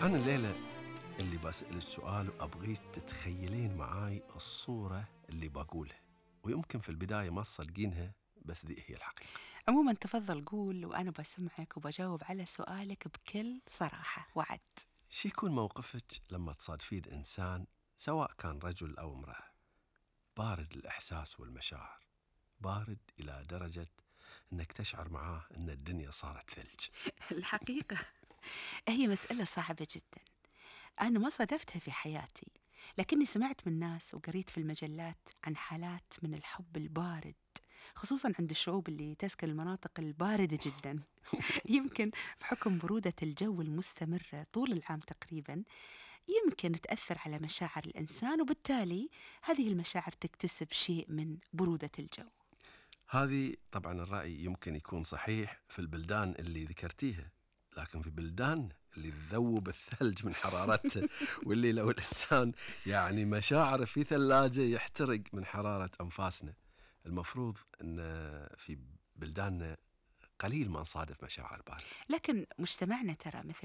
أنا الليلة اللي بسألك سؤال وأبغيك تتخيلين معاي الصورة اللي بقولها، ويمكن في البداية ما تصدقينها بس ذي هي الحقيقة. عموما تفضل قول وأنا بسمعك وبجاوب على سؤالك بكل صراحة وعد. شو يكون موقفك لما تصادفين إنسان سواء كان رجل أو امرأة بارد الإحساس والمشاعر، بارد إلى درجة أنك تشعر معاه أن الدنيا صارت ثلج؟ الحقيقة هي مسألة صعبة جدا، أنا ما صادفتها في حياتي، لكني سمعت من ناس وقريت في المجلات عن حالات من الحب البارد، خصوصا عند الشعوب اللي تسكن المناطق الباردة جدا. يمكن بحكم برودة الجو المستمرة طول العام تقريبا، يمكن تأثر على مشاعر الإنسان، وبالتالي هذه المشاعر تكتسب شيء من برودة الجو. هذه طبعا الرأي يمكن يكون صحيح في البلدان اللي ذكرتيها، لكن في بلدان اللي تذوب الثلج من حرارته واللي لو الإنسان يعني مشاعره في ثلاجة يحترق من حرارة أنفاسنا. المفروض أن في بلداننا قليل ما نصادف مشاعر باردة. لكن مجتمعنا ترى مثل